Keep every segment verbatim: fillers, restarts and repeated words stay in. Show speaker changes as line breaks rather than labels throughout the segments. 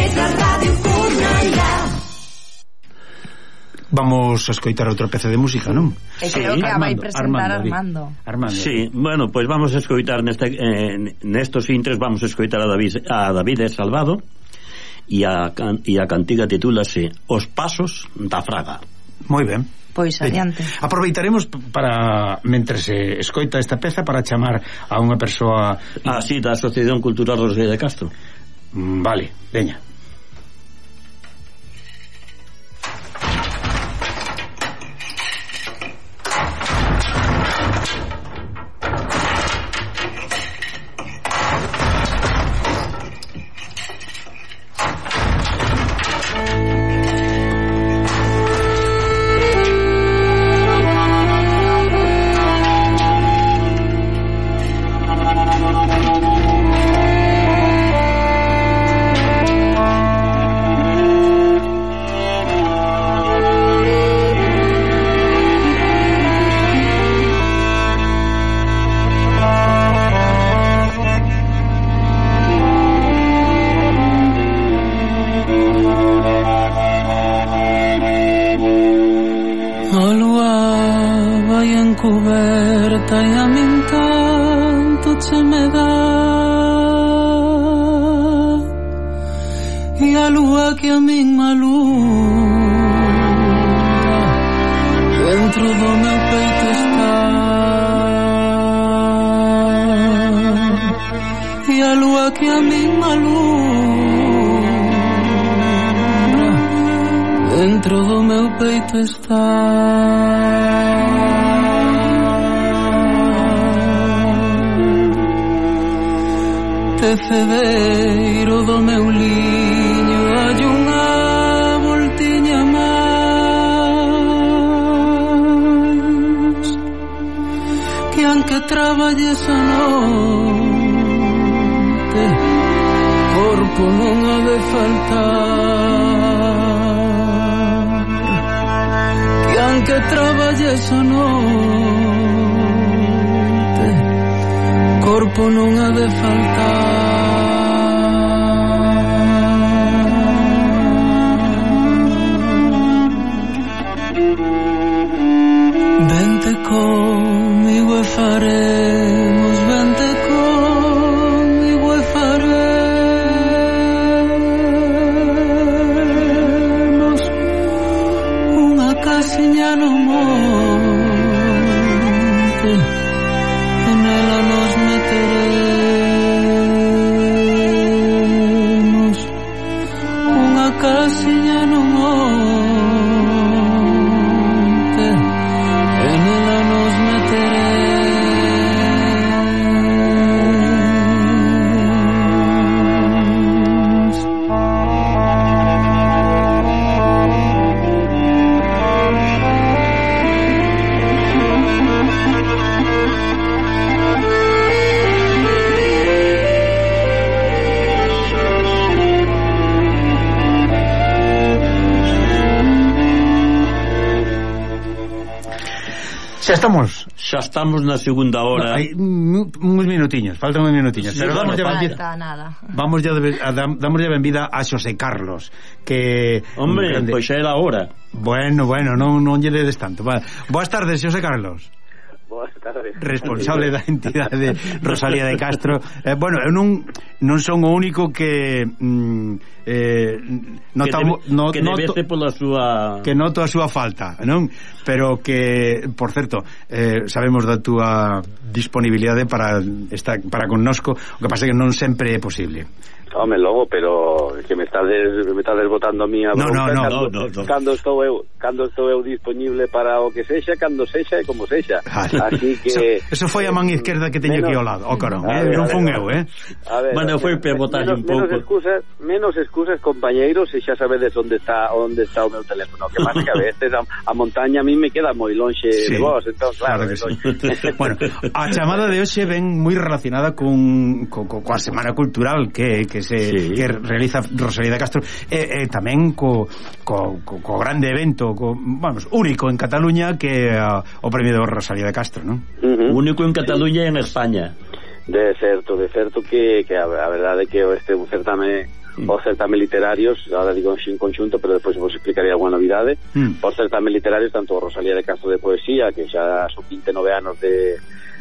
Pontevedra Radio Furnala.
Vamos a escoitar outra peza de música, non?
E creo sí, que a vai presentar Armando.
Armando. Sí, bueno, pois pues vamos a escoitar neste, eh, nestos intres vamos a escoitar a David, a David Salvado e a, e a cantiga titúlase Os Pasos da Fraga.
Moi ben.
Pois adiante.
Eh, aproveitaremos para, mentre se escoita esta peza, para chamar a unha persoa
así da Asociación Cultural Rosalía de Castro.
Mm, vale, veña. Xa estamos
Xa estamos na segunda hora.
No, hai uns minutiños, faltan uns minutiños, sí, pero
bueno,
damos
falta
benvida,
nada.
Vamos ya de, a, damos ya benvida a Xosé Carlos, que
hombre, grande... pois xa era hora.
Bueno, bueno, non non lle des tanto. Va. Boas tardes, Xosé Carlos.
Boas tardes.
Responsable da entidade Rosalía de Castro. Eh, bueno, eu non non son o único que mm, eh, notamo,
que, debe,
no,
que
noto,
pola súa
que noto a súa falta, non? Pero que, por certo, eh, sabemos da túa disponibilidade para estar para connosco, o que pasa é que non sempre é posible.
Home, logo, pero que me estades me estades botando a mí a
no, no, no,
cando,
no, no.
cando estou eu cando estou eu disponible para o que sexa, cando sexa e como sexa. Así que
eso, eso foi a man izquierda que teño aquí ao lado, o carón, eh, non fun eu, eh.
A ver,
bueno, foi para botar un pouco.
Menos excusas, menos excusas, compañeiros, e xa sabedes onde está onde está o meu teléfono. Que pasa que a veces a, a montaña a mí me queda moi lonxe sí, de vos, entón claro, claro que
sí. Bueno, a chamada de hoxe ven moi relacionada con co, co, coa Semana Cultural que que se sí. que realiza Rosalía de Castro e, e tamén co, co, co, co grande evento co, vamos, único en Cataluña que uh, o premio de Rosalía de Castro, non?
Uh-huh. Único en Cataluña e en España.
De certo, de certo que, que a, a verdade é que este é un certame mm. os certames literarios, ahora digo en conxunto, pero despois vos explicaré alguna novidade, mm. os certames literarios, tanto Rosalía de Castro de Poesía, que xa son vinte e nove anos de,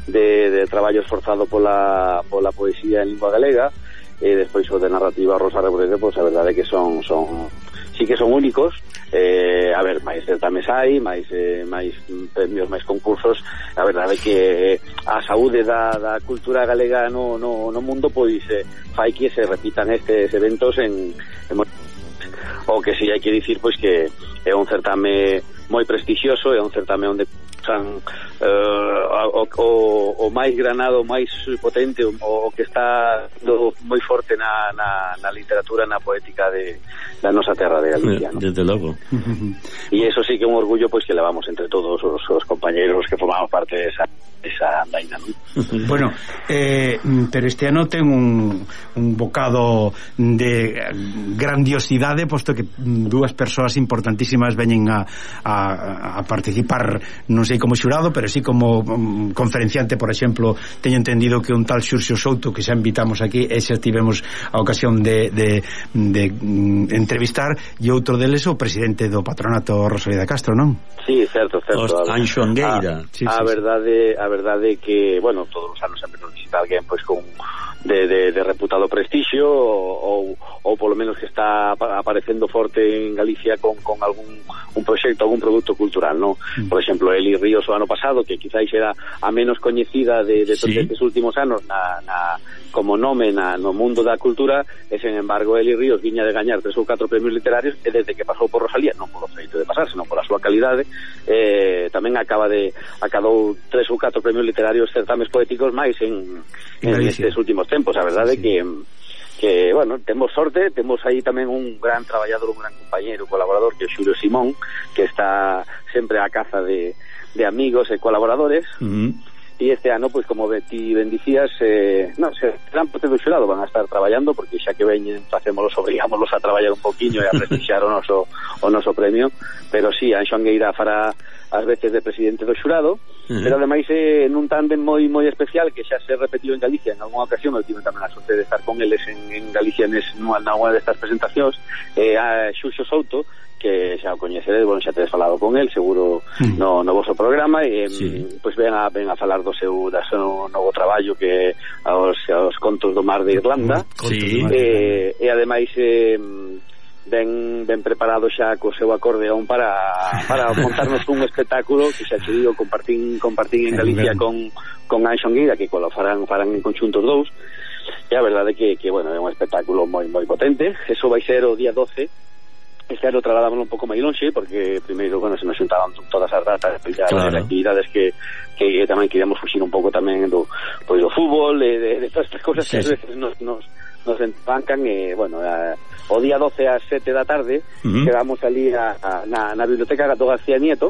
de, de traballo esforzado pola, pola poesía en lingua galega, e despois o de narrativa Rosa Reborede, pois a verdade é que son, son sí que son únicos. Eh, a ver, máis certames hai, máis eh, máis premios, máis concursos. A verdade é que a saúde da, da cultura galega no, no, no mundo pois eh, fai que se repitan estes eventos en, en o que si hai que dicir pois que é un certame moi prestixioso, é un certame onde san, uh, o, o, o máis granado, o máis potente, o, o que está do, moi forte na, na, na literatura, na poética de, da nosa terra de Galicia, ¿no?
Desde logo.
E eso sí que é un orgullo pois que levamos entre todos os, os compañeros que formamos parte de esa esa andaina, ¿no?
Bueno, eh, pero este ano ten un, un bocado de grandiosidade, posto que dúas persoas importantísimas veñen a, a, a participar, non sei como xurado, pero sí como um, conferenciante. Por exemplo, teño entendido que un tal Xurxo Souto, que xa invitamos aquí, e xa tivemos a ocasión de, de, de um, entrevistar, e outro deles o presidente do patronato, Rosalía de Castro, non?
Sí, certo, certo.
Anxo Angueira.
A, sí, a, sí, a verdade, a verdade que, bueno, todos os anos sempre nos visita alguén pois con de, de, de reputado prestixio, ou, ou polo menos que está aparecendo forte en Galicia con, con algún un proxecto, algún produto cultural, ¿no? Mm. Por exemplo, Eli Ríos o ano pasado, que quizáis era a menos coñecida de, de todos sí. estes últimos anos na, na, como nome na, no mundo da cultura, e sen embargo Eli Ríos viña de gañar tres ou catro premios literarios, e desde que pasou por Rosalía, non polo feito de pasar, senón pola súa calidade, eh, tamén acaba de acadou tres ou catro premios literarios, certames poéticos máis en, en estes últimos tempos. A verdade é sí. que que, bueno, temos sorte, temos aí tamén un gran traballador, un gran compañeiro, colaborador, que é Xulio Simón, que está sempre á caza de, de amigos e colaboradores. Uh-huh. E este ano, pois, como ti ben dicías, eh, non, se gran parte do xurado van a estar traballando, porque xa que veñen, facémolos, obrigámolos a traballar un poquinho e a prestixiar o noso o noso premio, pero sí, Anxo Angueira fará ás veces de presidente do xurado, uh-huh. pero ademais é eh, nun tándem moi moi especial que xa se repetiu en Galicia en algunha ocasión. Eu tive tamén a sorte de estar con eles en, en Galicia nes, nunha destas presentacións, eh, a Xurxo Souto, que xa o coñecedes, bueno, xa tedes falado con el seguro mm. no, no vosso programa, e sí. pois ven a, ven a falar do seu, da seu novo traballo, que aos, aos contos do mar de Irlanda, sí. e, e ademais eh, ben, ben preparado xa co seu acordeón para, para montarnos un espectáculo que xa che digo, compartín, compartín en Galicia con, con Anxo Angueira, que lo farán, farán en conxuntos dous, e a verdade que, que bueno, é un espectáculo moi moi potente. Eso vai ser o día doce. Este ano trasladámoslo un pouco máis lonxe, porque primeiro, bueno, se nos xuntaban todas as datas, ya claro. As actividades que, que tamén queríamos fuxir un pouco tamén do, pois, do fútbol, de, de, de todas estas cosas sí, que a veces nos, nos, nos empancan, e, bueno, a, o día doce ás sete da tarde, uh-huh. quedamos ali a, a, na, na Biblioteca Gato García Nieto,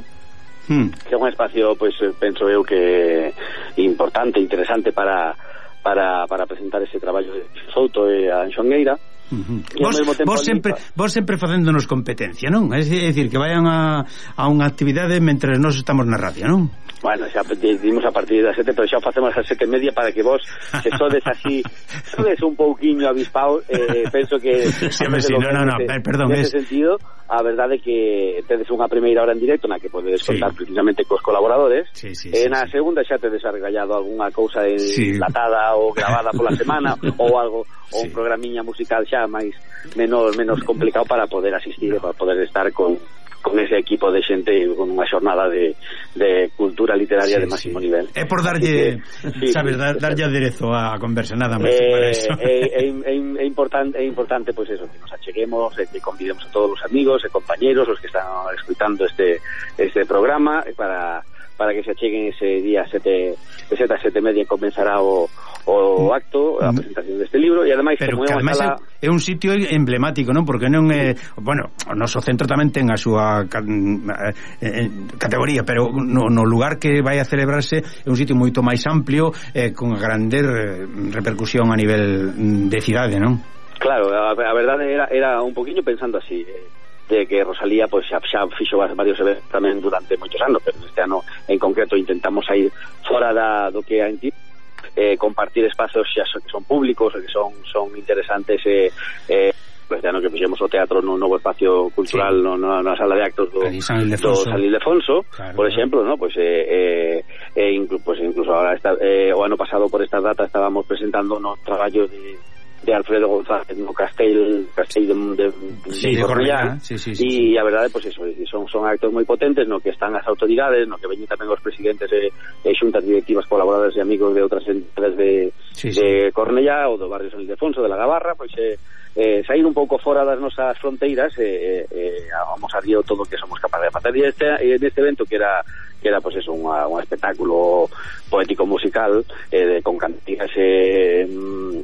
uh-huh. que é un espacio, pois, penso eu que importante, interesante para, para, para presentar ese traballo de Souto e a Anxo Angueira. Uh-huh. Vos, vos sempre vos sempre facéndonos competencia, non? É dicir, que vayan a, a unha actividade mentre nós estamos na radio, non? Bueno, xa dimos a partir das sete, pero xa facemos a sete e media para que vos, se sodes así, sodes un pouquiño avispaos, eh, penso que
sí, sí, no, no, no,
nese,
perdón,
nese
es...
sentido, a verdade é que tedes unha primeira hora en directo na que podedes contar sí. precisamente cos colaboradores,
sí, sí,
e
sí,
na
sí.
segunda xa tedes arregallado algunha cousa enlatada sí. ou grabada pola semana ou algo, ou sí. un programiña musical xa máis menos menos complicado para poder asistir e para poder estar con con ese equipo de xente, con unha xornada de, de cultura literaria sí, de máximo sí. nivel.
É por darlle, que, sí, sabes, dar, darlle aderezo á conversa, nada máis
eh,
para eso.
É, é, é, é importante, é importante pois pues eso, que nos acheguemos, e que convidemos a todos os amigos e compañeros, os que están escuitando este este programa, para para que se acheguen ese día sete, de sete a sete e media comenzará o, o acto, a presentación deste libro, e ademais
pero
como
que ademais sala... é un sitio emblemático, non? Porque non é, bueno, o noso centro tamén ten a súa eh, categoría, pero no, no lugar que vai a celebrarse é un sitio moito máis amplio, eh, con grande repercusión a nivel de cidade, non?
Claro, a, a verdade era, era un poquinho pensando así, eh, de que Rosalía pois xa, xa fixo varios eventos tamén durante moitos anos, pero este ano en concreto intentamos sair fora da, do que é en ti, eh, compartir espazos xa son, que son públicos e que son son interesantes eh, eh, pues ya no que fixemos o teatro no novo espacio cultural sí. no, no, na sala de actos do, do San Ildefonso, claro, por exemplo, ¿no? Pues eh, eh, eh, inclu, pues incluso ahora está, eh, o ano pasado por esta data estábamos presentando no traballo de de Alfredo González no Castell Castell de, de,
sí, de Cornellá sí, sí, sí,
e sí. a verdade, pois pues eso, son, son actos moi potentes no que están as autoridades, no que veñen tamén os presidentes e, e xuntas directivas, colaboradores e amigos de outras entidades de, sí, sí. de Cornellá ou do barrio San Ildefonso, de la Gavarra, pois eh, eh, sair un pouco fora das nosas fronteiras e eh, eh, vamos a río todo o que somos capaces de facer. E este, este evento que era que era pues eso, un espectáculo poético musical eh, de, con cantigas eh,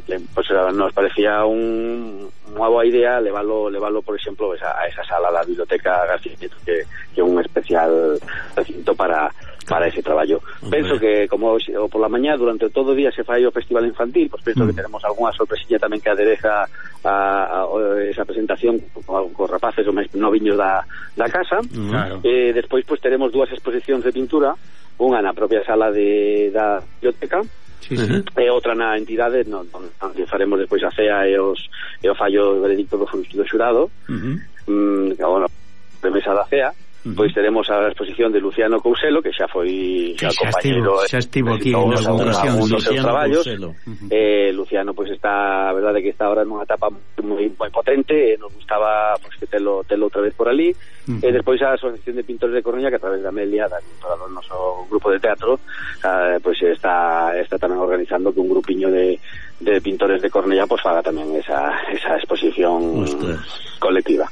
pues nos parecía un, unha boa idea levarlo, levarlo por exemplo esa, a esa sala da Biblioteca García que, que é un especial recinto para para ese traballo. Uh-huh. Penso que como o por la mañá durante todo o día se fai o festival infantil, pues penso uh-huh. que teremos algunha sorpresilla tamén que adereza a, a, a esa presentación con, con rapaces ou máis noviños da, da casa. Uh-huh. Claro. Eh, despois pues teremos dúas exposicións de pintura, unha na propia sala de da biblioteca sí, sí. e outra na entidade no, onde faremos despois a cea e os e o fallo veredicto do, do xurado. Uh-huh. mm, que, bueno, de mesa da cea. Uh-huh. Pois teremos a exposición de Luciano Couselo, que xa foi xa compañeiro,
xa estivo aquí nos
ocasións dos seus traballos. Uh-huh. Eh, Luciano pois está, a verdade que está ahora nunha etapa moi moi potente, e nos gustaba pois que telo telo outra vez por ali. Uh-huh. E despois a Asociación de Pintores de Coruña, que a través da Amelia, da directora do noso grupo de teatro, eh, pois está está tamén organizando que un grupiño de de pintores de Cornellá pois faga tamén esa esa exposición Ostras. colectiva.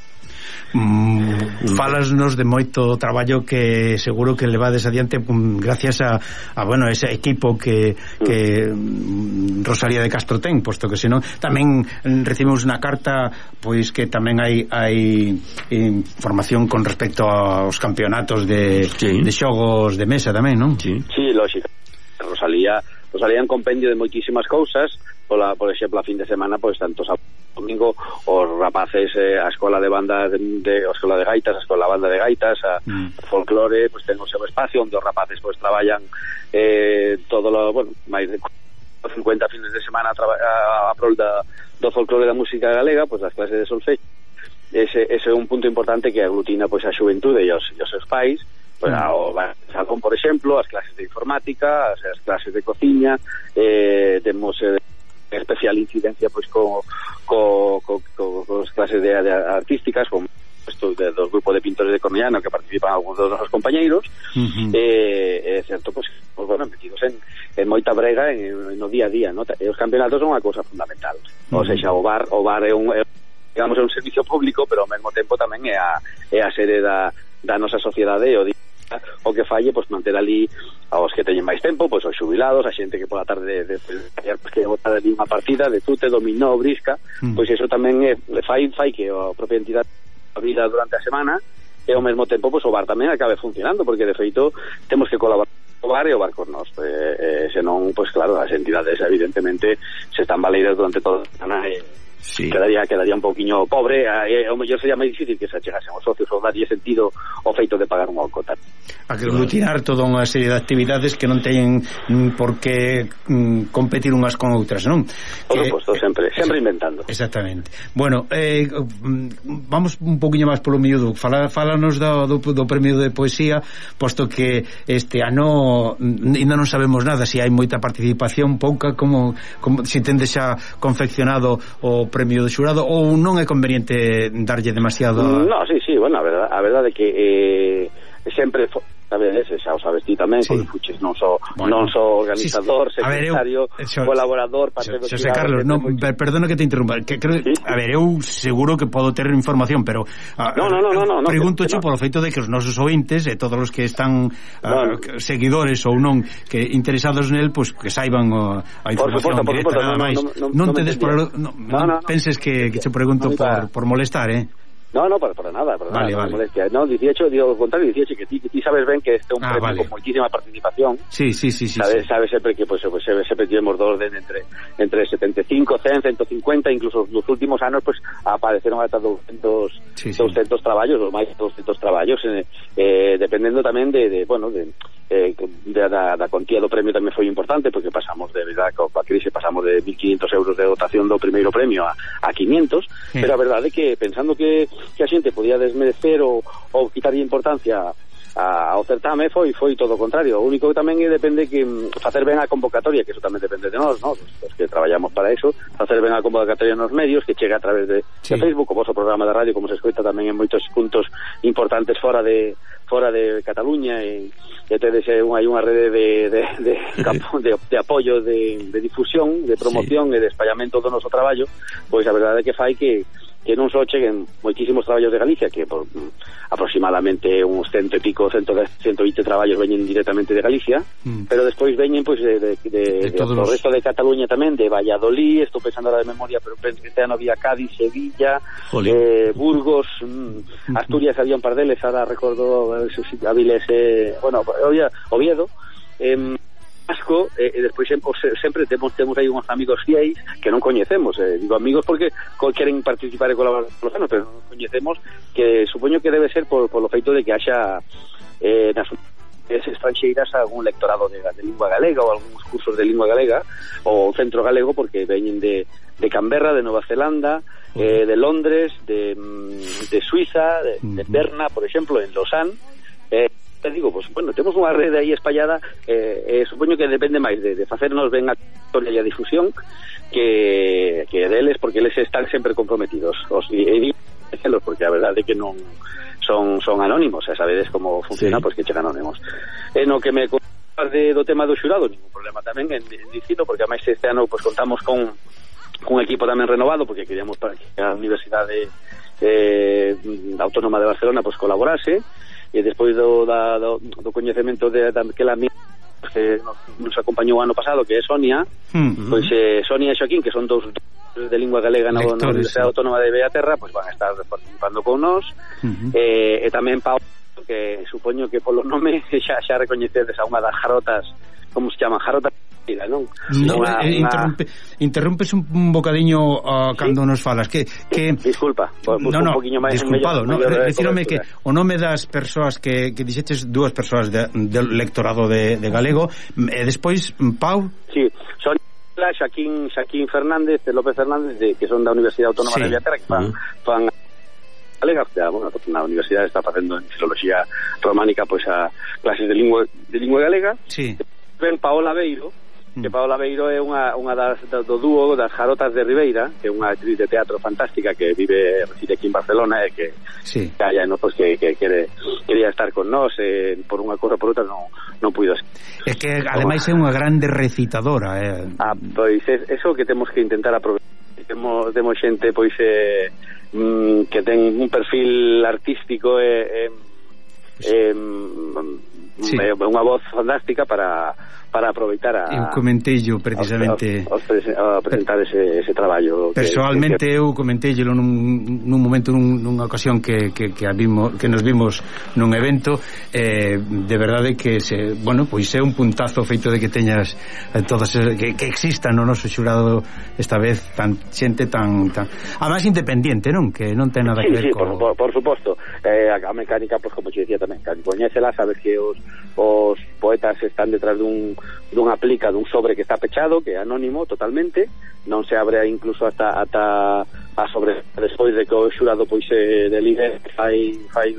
Mm, falasnos de moito traballo que seguro que levades adiante um, gracias a, a bueno, ese equipo que, que um, Rosalía de Castro ten, posto que senón tamén recibimos unha carta pois que tamén hai, hai información con respecto aos campeonatos de, sí. de xogos de mesa tamén, non?
Sí, sí, lógico. Rosalía Rosalía é un compendio de moitísimas cousas. Pola, por exemplo, a fin de semana, pois tanto sábado domingo os rapaces eh, a escola de banda de, de a escola de gaitas, a escola banda de gaitas, a mm. folclore, pois ten o seu espacio onde os rapaces pois traballan eh, todo lo, bueno, máis de cincuenta fines de semana a, a, a prol da, do folclore da música galega, pois as clases de solfejo. Ese, ese é un punto importante que aglutina pois a xuventude e os, e os seus pais. Pues, o salón, por exemplo, as clases de informática, as, as clases de cociña, eh, temos eh, especial incidencia pois co, co, co, co, co as clases de, de artísticas, con estos de, dos grupos de pintores de Cornellá no que participan algúns dos nosos compañeiros. Uh-huh. eh, é certo, pois, pues, bueno, metidos en, en moita brega en, en no día a día, ¿no? E os campeonatos son unha cousa fundamental. Uh-huh. O seja, o bar, o bar é un é, digamos, é un servicio público, pero ao mesmo tempo tamén é a, é a sede da, da nosa sociedade e o día o que falle, pois manter ali aos que teñen máis tempo, pois os xubilados, a xente que pola tarde de, de, de, pues, que botar ali unha partida de tute, dominó, brisca, mm. pois eso tamén é, fai, fai que a propia entidade a vida durante a semana e ao mesmo tempo pois o bar tamén acabe funcionando, porque de feito temos que colaborar o bar e o bar con nós, eh, eh, senón, pois claro, as entidades evidentemente se están baleiras durante toda a semana e sí. quedaría quedaría un pouquiño pobre, e ao mellor sería máis difícil que se achegasen os socios ou darlle sentido ao feito de pagar unha cota.
A que aglutinar toda unha serie de actividades que non teñen mm, por que mm, competir unhas con outras, non?
Por que, suposto, sempre, sempre inventando.
Exactamente. Bueno, eh, vamos un pouquiño máis polo miúdo. Fala, fálanos do, do, do premio de poesía, posto que este ano ainda non sabemos nada, se si hai moita participación, pouca, como, como se si tende xa confeccionado o premio do xurado, ou non é conveniente darlle demasiado...
No, sí, sí, bueno, a verdade, a verdade que eh, sempre... Sabes, xa o sabes ti tamén, sí. Que fuches non só bueno. non só organizador, sí, sí. secretario, ver, eu, xo, colaborador, parte do
Xosé Carlos, non, per, perdona que te interrumpa, que creo, sí, sí. A ver, eu seguro que podo ter información, pero a,
no, no, no, no, no,
pregunto
no,
cho
no.
polo feito de que os nosos ointes e todos os que están no, no. seguidores ou non que interesados nel, pois pues, que saiban o, a información
por suposto,
directa, nada máis.
No, no, no,
non
no
tedes por, no,
no,
non no, penses que, que te pregunto no, por, por molestar, eh?
No, no, para, para nada, para
vale,
nada,
vale.
molestia. No, dieciocho, digo, al contrario, dieciocho, que ti, que ti sabes ben que este é un
ah,
premio
vale.
con moitísima participación.
Sí, sí, sí, sí.
Sabes,
sí.
sabes sempre que, pues, pues sempre tivemos dos de entre, entre setenta e cinco, cen, ciento cincuenta, incluso nos últimos anos, pues, apareceron ata doscientos, sí, sí. doscientos traballos, ou máis de doscientos traballos, eh, eh, dependendo tamén de, de bueno, de, eh, de, da, da contía do premio tamén foi importante, porque pasamos de verdade, coa crise pasamos de mil quinhentos euros de dotación do primeiro premio a, a quinientos, sí. Pero a verdade é que pensando que, que a xente podía desmerecer ou, ou quitarlle importancia a, ao certame, foi foi todo o contrario. O único que tamén é depende que facer ben a convocatoria, que eso tamén depende de nós, ¿no? Os que traballamos para eso, facer ben a convocatoria nos medios, que chega a través de, sí. de Facebook, o vosso programa de radio, como se escoita tamén en moitos puntos importantes fora de fora de Cataluña, e, e tedes un, hai unha rede de de, de, de, de apoio, de, de difusión, de promoción, sí. E de espallamento do noso traballo. Pois a verdade é que fai que que non só cheguen moitísimos traballos de Galicia, que por aproximadamente uns cento e pico, cento vinte traballos veñen directamente de Galicia, mm. pero despois veñen pois de, de, de, de, de o resto de Cataluña tamén, de Valladolid, estou pensando ahora de memoria, pero penso que este ano había Cádiz, Sevilla, eh, Burgos, mm, Asturias, había un par deles, ahora recordo Avilés, eh, bueno, Oviedo, eh, Asco, e eh, despois sempre, sempre temos temos aí uns amigos fiéis que non coñecemos, eh, digo amigos porque queren participar e colaborar con los anos, pero non coñecemos, que supoño que debe ser por, por lo feito de que haxa eh, nas estranxeiras algún lectorado de, de lingua galega, ou algúns cursos de lingua galega, ou centro galego, porque veñen de, de Canberra, de Nova Zelanda, eh, de Londres, de, de Suiza, de, de Berna, por exemplo, en Lausanne. eh, te digo, pues bueno, temos unha rede aí espallada, eh, eh, supoño que depende máis de, de facernos ben a historia e a difusión que, que deles, porque eles están sempre comprometidos, os e digo porque a verdade é que non son son anónimos, e sabedes como funciona, sí. Pois que chegan anónimos. E no que me de, do tema do xurado, ningún problema tamén en, en dicilo, porque ademais este ano pues contamos con un equipo tamén renovado, porque queríamos para que a Universidade eh, Autónoma de Barcelona pues colaborase, e despois do, da, do, do coñecemento de daquela amiga que nos, nos acompañou o ano pasado, que é Sonia, mm-hmm. Pois eh, Sonia e Xoaquín, que son dous de lingua galega na, na Universidade Autónoma de Bellaterra, pois van a estar participando con nós, mm-hmm. eh, e tamén Pau, que supoño que polo nome xa, xa recoñecedes a unha das jarotas, como se chaman, jarotas, non?
No, una, eh, interrumpe, una... interrumpes un, un bocadiño uh, cando ¿sí? Nos falas que, que...
Disculpa,
no, no, un máis disculpado, no, decírome que o nome das persoas que, que dixetes dúas persoas de, de lectorado de, de galego, e despois Pau.
Sí, son Xaquín, Xaquín Fernández, López Fernández, de, que son da Universidade Autónoma sí. de Bellaterra, que fan, uh-huh. fan galega, bueno, na universidade está facendo en filoloxía románica pois a clases de lingua de lingua galega.
Sí.
Ben Paola Beiro, que Paola Beiro é unha, unha das, do dúo das Jarotas de Ribeira, que é unha actriz de teatro fantástica que vive, reside aquí en Barcelona, e que
sí.
Calla, no, pues que, que quere, quería estar con nós, eh, por unha cousa por outra non, non puido ser.
É que ademais é unha grande recitadora, eh.
Ah, pois é, eso que temos que intentar aproveitar. Temos, temos xente pois eh, mm, que ten un perfil artístico e eh, eh, sí. eh, unha voz fantástica para para aproveitar a...
Eu comenteillo precisamente
a, a, a presentar ese, ese traballo.
Personalmente
que, que...
eu comenteillo nun, nun momento, nun, nunha ocasión que, que, que, vimos, que nos vimos nun evento, eh, de verdade que se, bueno, pois é un puntazo feito de que teñas eh, todas que, que existan no noso xurado esta vez tan xente tan, tan además independiente, non? Que non ten nada
sí,
que ver
sí,
con...
por, por, por suposto. Eh, a, a mecánica, pues como te decía tamén, coñécela, sabes que os, os poetas están detrás dun dunha plica, dun sobre que está pechado, que é anónimo totalmente, non se abre incluso hasta ata a sobre despois de que o xurado pois se delibere, fai fai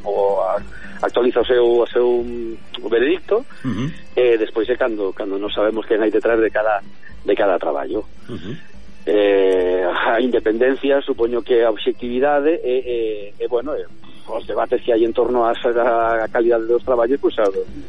o actualiza o seu o seu o veredicto, uh-huh. E despois é cando cando non sabemos quen hai detrás de cada de cada traballo. Uh-huh. Eh, a independencia, supoño que a obxectividade e, e, e bueno, e, os debates que hai en torno a, a calidade dos traballos pues,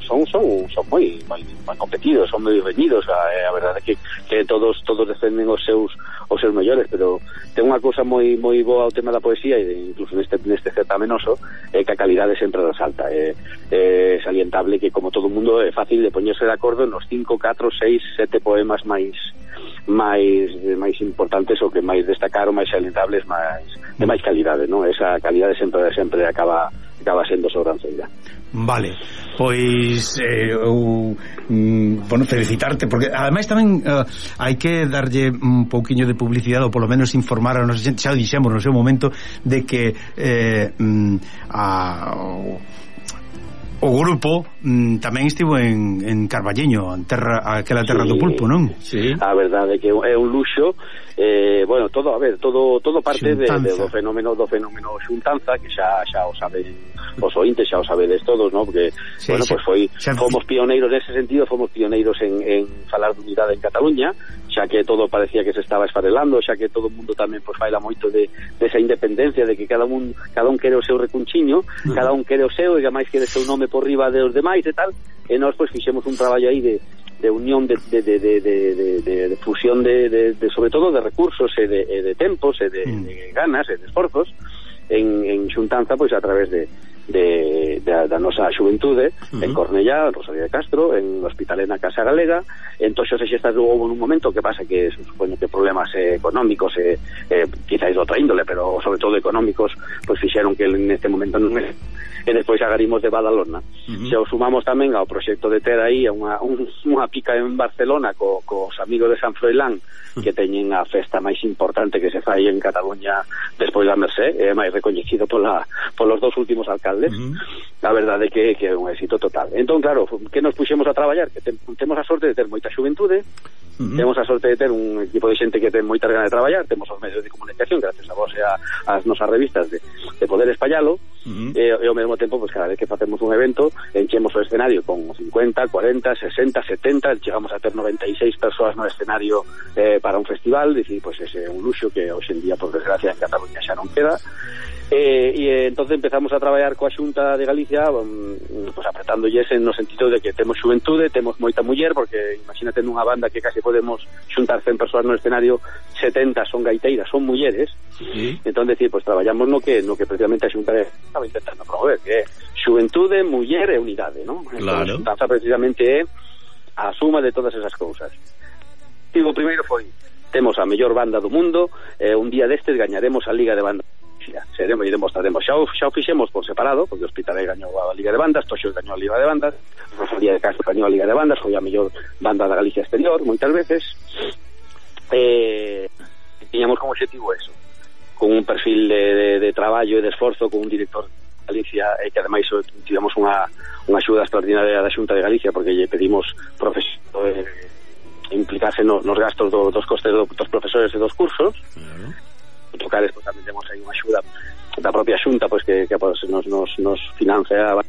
son son son moi moi, moi competidos, son moi reñidos, a, a verdade que que todos todos defenden os seus os seus mellores, pero ten unha cousa moi moi boa ao tema da poesía e incluso neste neste certamenoso, é que a calidade sempre resalta, é, é salientable que como todo o mundo é fácil de poñerse de acordo nos cinco, catro, seis, sete poemas máis máis máis importantes ou que máis destacaron, máis salientables, máis de máis calidade, non? Esa calidade sempre sempre acaba acaba sendo sobranceira.
Vale, pois eh, eu mm, bueno, felicitarte porque ademais tamén uh, hai que darlle un pouquiño de publicidade ou polo menos informar a nosa xente, xa o dixemos no seu momento de que eh, mm, a o, o grupo mm, tamén estivo en, en Carballiño, en terra, aquela terra sí, do pulpo, non?
Sí. A verdade é que é un luxo, eh, bueno, todo, a ver, todo todo parte de, de, do fenómeno do fenómeno xuntanza, que xa xa o saben os ointes, xa o sabedes todos, ¿no? Porque, sí, bueno, xa, pues foi, xa, fomos pioneiros nese sentido, fomos pioneiros en, en falar de unidade en Cataluña, xa que todo parecía que se estaba esfarelando, xa que todo o mundo tamén pues faila moito de, de esa independencia, de que cada un cada un quere o seu recunchiño, uh-huh. cada un quere o seu e máis quere o seu nome por riba de os demais e tal, e nós pues fixemos un traballo aí de, de unión de, de, de, de, de, de, de fusión de, de, de sobre todo de recursos e de, e de tempos e de, uh-huh. de ganas e de esforzos en, en xuntanza pois a través de de, de da nosa xuventude uh-huh. en Cornellá, en Rosalía de Castro, en Hospitalena Casa Galega, en Toxos e Xestas houve un momento que pasa que se supone que problemas eh, económicos e eh, quizás de outra índole, pero sobre todo económicos, pois fixeron que neste momento non é e despois agarimos de Badalona. Uh-huh. Se o sumamos tamén ao proxecto de ter aí unha, un, unha pica en Barcelona co, cos amigos de San Froilán, que teñen a festa máis importante que se fai en Cataluña despois da Mercé, é máis recoñecido pola, polos dous últimos alcaldes. Uh-huh. A verdade é que, que é un éxito total. Entón, claro, que nos puxemos a traballar? Que te, temos a sorte de ter moita xuventude, uh-huh. temos a sorte de ter un equipo de xente que ten moita ganas de traballar, temos os medios de comunicación, gracias a vos e a, as nosas revistas, de, de poder espallalo, uh-huh. e, e ao mesmo tempo, pues, cada vez que facemos un evento, enchemos o escenario con cincuenta, cuarenta, sesenta, setenta, chegamos a ter noventa e seis persoas no escenario eh, para un festival, dicir, pues ese é un luxo que hoxe en día, por desgracia, en Cataluña xa non queda. Eh, e eh, entonces empezamos a traballar coa Xunta de Galicia, um, pues apretándolles en no sentido de que temos xuventude, temos moita muller, porque imagínate nunha banda que casi podemos xuntar cen persoas no escenario, setenta son gaiteiras, son mulleres. Sí. Entón, decir, pues traballamos no que no que precisamente a Xunta estaba intentando promover, que é xuventude, muller e unidade, ¿no?
Claro.
Entón, a Xunta precisamente é a suma de todas esas cousas. E o primeiro foi, temos a mellor banda do mundo, e un día destes gañaremos a Liga de Bandas. Seremos e demostraremos, xa o, xa o fixemos por separado, porque o Hospitalet gañou a Liga de Bandas, Toxos gañou a Liga de Bandas, Rosalía de Castro gañou a Liga de Bandas, foi a mellor banda da Galicia exterior moitas veces. Eh, tiñamos como objetivo eso, con un perfil de, de, de traballo e de esforzo, con un director de Galicia, e que ademais tivemos unha, unha axuda extraordinaria da Xunta de Galicia, porque lle pedimos profesor, eh, implicarse no, nos gastos do, dos costes do, dos profesores e dos cursos. Uh-huh. Tocares, pues tamén temos aí unha axuda da propia Xunta, pois pues, que, que pues, nos, nos, nos financia a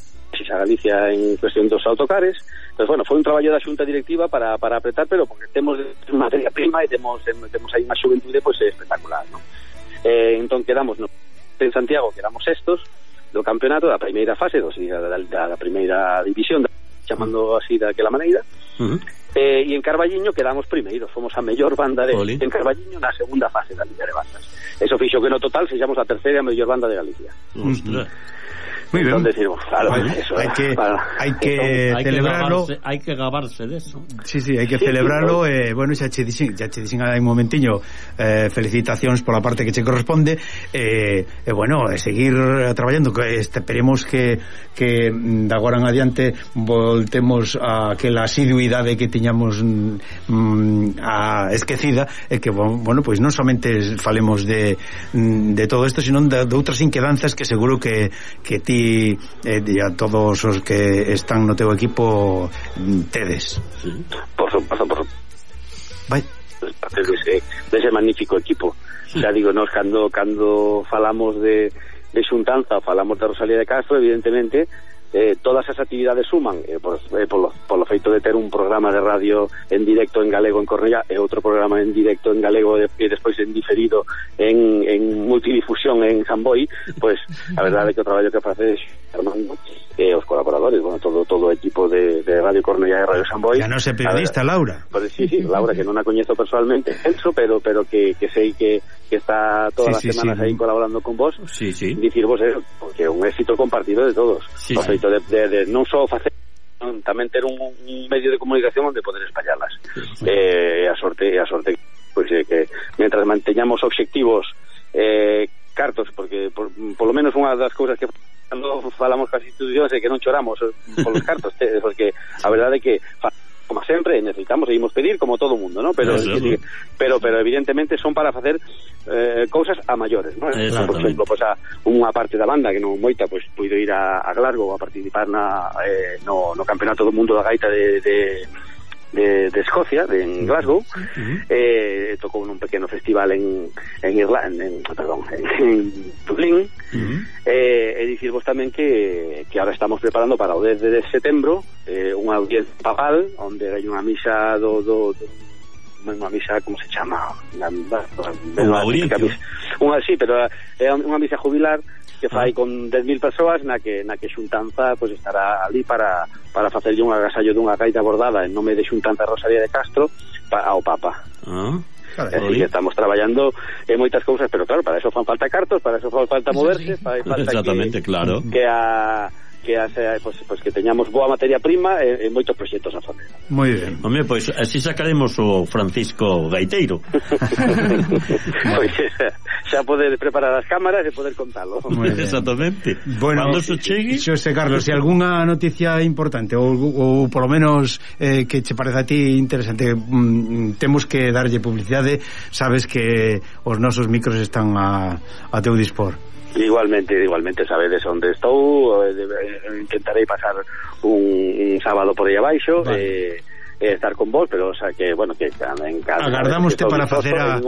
Galicia en cuestión dos autocares. Pues bueno, foi un traballo da Xunta directiva para, para apretar, pero porque temos materia prima e temos, temos aí unha xuventude pues, espectacular, ¿no? Eh, entón quedamos no, en Santiago, que éramos sextos do campeonato da primeira fase, dos, da, da, da primeira división, da, chamando así daquela maneira. Uh-huh. Eh, e en Carballiño quedamos primeiros, fomos a mellor banda de Oli. En Carballiño na segunda fase da Liga de Bandas. Eso fixo que no total sexamos a terceira mellor banda de Galicia.
Ostras.
Muy bien.
Entonces, decimos, claro,
bueno,
eso,
hay que,
para,
hay que
hay
celebrarlo.
Que hay que gabarse de eso.
Sí, sí, hay que sí, celebrarlo. Sí, eh, bueno, xa che dixen, xa che dixen hai un momentiño, eh, felicitacións pola parte que che corresponde. Eh, eh, bueno, eh, seguir traballando. Que esperemos que que de agora en adiante voltemos a aquela asiduidade que tiñamos mm, a esquecida, e que, bueno, pois pues non somente falemos de de todo isto, sino de, de outras inquedanzas que seguro que que ti e a todos os que están no teu equipo tedes.
Sí. Por supuesto, por supuesto.
Vai.
Dese, dese magnífico equipo. Sí. Xa digo, nos cando cando falamos de, de xuntanza, falamos de Rosalía de Castro, evidentemente eh, todas as actividades suman, eh, por, eh, polo, polo feito de ter un programa de radio en directo en galego en Cornellá e outro programa en directo en galego e de, despois en diferido en, en multidifusión en San Boi, pues a verdade é que o traballo que facedes Armando e eh, os colaboradores, bueno, todo todo o equipo de, de Radio Cornellá e Radio San Boi.
Ya non sei periodista, ver, Laura.
Pues, sí, sí, Laura, que non a coñezo personalmente, eso, pero pero que, que sei que, que está todas sí, as sí, semanas sí, aí colaborando con vos.
Sí, sí.
Dicir vos, eh, porque é un éxito compartido de todos. Sí, o feito de, de, de non só facer, tamén ter un, un medio de comunicación onde poder espallarlas. Sí, sí. Eh, a sorte, a sorte pois pues, eh, que mentras manteñamos obxectivos eh, cartos, porque por, por lo menos unha das cousas que cando falamos cas institucións é que non choramos polos cartos, porque a verdade é que como sempre, necesitamos, seguimos pedir como todo o mundo, ¿no? Pero, sí, sí. pero pero evidentemente son para facer eh, cousas a maiores, ¿no? Por exemplo, pues a unha parte da banda que non moita, pues puido ir a, a Glasgow a participar na, eh, no, no campeonato do mundo da gaita de, de De, de Escocia, de, en Glasgow. Uh-huh. eh, tocou nun pequeno festival en en Irlanda, en, perdón, en, en Dublín. Uh-huh. eh, e dicirvos tamén que, que ahora estamos preparando para o dez de setembro eh, unha audiencia papal onde hai unha misa do, do, do unha misa, como se chama? Unha audiencia unha, sí, pero é unha misa jubilar que fai con dez mil persoas na que na que Xuntanza pues estará ali para para facerlle un agasallo dunha gaita bordada en nome de Xuntanza Rosalía de Castro pa, ao Papa. Ah, así que estamos traballando en moitas cousas, pero claro, para eso fan falta cartos, para eso fan falta moverse, fai falta
exactamente,
que,
claro.
que a que hace, pues, pues que teñamos boa materia prima e, e moitos proxectos a facer.
Moi ben.
Home, pois pues, así sacaremos o Francisco Gaiteiro.
Pois pues, xa poder preparar as cámaras e poder contalo.
Exactamente.
Bueno, cando se chegue, Xosé Carlos, se algunha noticia importante ou, ou por lo menos eh, que che parece a ti interesante, mm, temos que darlle publicidade, sabes que os nosos micros están a, a teu dispor.
Igualmente, igualmente sabedes onde estou, eh, intentarei pasar un, un sábado por aí abaixo, vale. eh, eh, estar con vos, pero o sea que, bueno, que en casa
agardámoste para facer a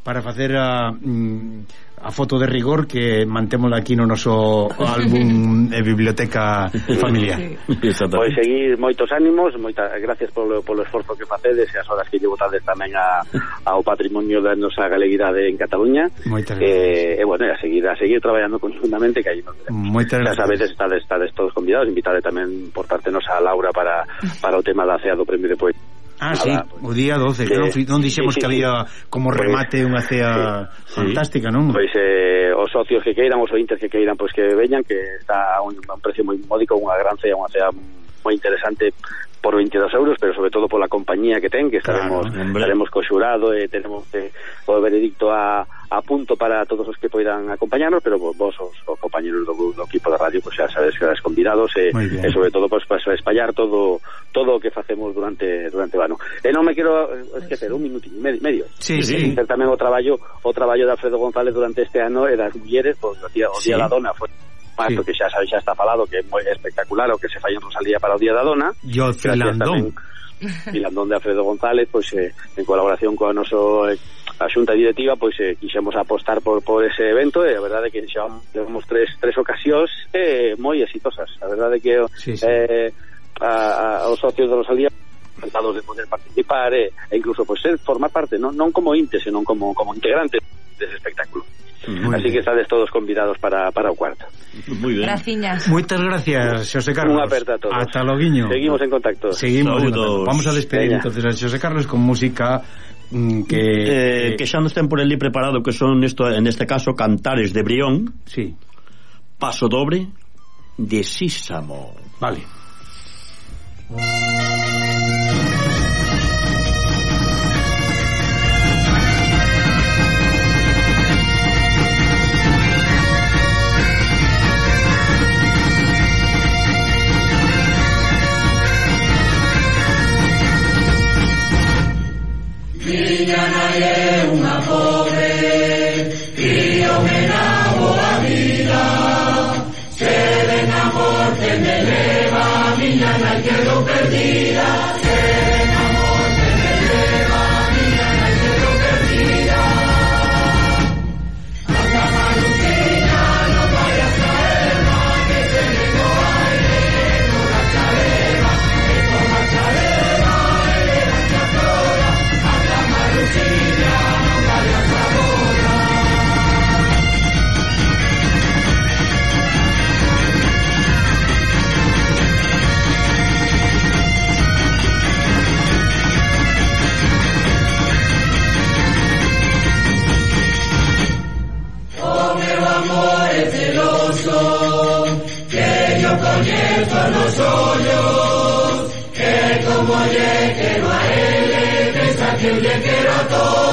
para facer a mm, a foto de rigor que mantémola aquí no noso álbum de biblioteca familiar.
Sí. Pois seguir moitos ánimos, moitas gracias polo, polo esforzo que facedes e as horas que lle botades tamén a, ao patrimonio da nosa galeguidade en Cataluña.
Moitas gracias.
E eh, bueno, a seguir a seguir traballando conjuntamente, que aí nos veremos.
Moitas gracias.
Xa sabedes, estades, estades todos convidados, invitade tamén por parte nosa a Laura para, para o tema da cea do premio de poesía.
Ah, sí, pues, o día doce, que non, non dixemos sí, sí, que había como remate unha cea sí, fantástica, non?
Pois eh, os socios que queiran, os ointes que queiran, pois que veñan, que está a un, a un precio moi módico, unha gran cea, unha cea moi interesante por veintidós euros, pero sobre todo pola compañía que ten, que estaremos claro, estaremos co xurado e tenemos eh, o veredicto a, a punto para todos os que poidan acompañarnos, pero vos, os, os compañeros do, do equipo de radio, pues xa sabes que eres convidados e, e sobre todo pues, para espallar todo todo o que facemos durante durante o ano. E non me quero esquecer un minutinho medio, medio.
Sí, sí.
Ter tamén o traballo o traballo de Alfredo González durante este ano e das mulleres, pues, o día, o día sí. da dona foi sí. que xa sabes, xa está falado que é moi espectacular o que se fai en Rosalía para o Día da Dona.
Yo Filandón
Filandón de Alfredo González, pois pues, eh, en colaboración coa noso eh, a xunta directiva, pois pues, eh, quixemos apostar por, por ese evento e a verdade é que xa levamos tres, tres ocasións eh, moi exitosas. A verdade é que sí, sí. Eh, a, a, os socios de Rosalía encantados de poder participar e, e incluso pois pues, ser formar parte, non, non como intes, senón como, como integrante dese espectáculo. Muy Así bien. Que estades todos convidados para, para o cuarto.
Muy bien. Graciñas.
Moitas gracias, Xosé Carlos.
Unha aperta a todos.
Hasta loguiño.
Seguimos en contacto.
Seguimos en contacto. Vamos a despedir Veña. Entonces a Xosé Carlos con música mm, que
eh, que xa nos ten por ali preparado, que son esto, en este caso Cantares de Brión.
Sí.
Paso dobre de Sísamo.
Vale.
Miña nai é unha pobre, críome na boa vida, se ven a morte me leva, miña nai quedo perdida, se ven a morte me leva, miña nai quedo perdida. Anda Marucina, non vayas a Eva, que se le no aire, no la chaveva, que con la chaveva, ele la chatora. Marucina, non vayas agora. O meu amor é celoso, que yo coñezo nos ollos, que como lle quero a ele, pensa que eu lle quero a todos.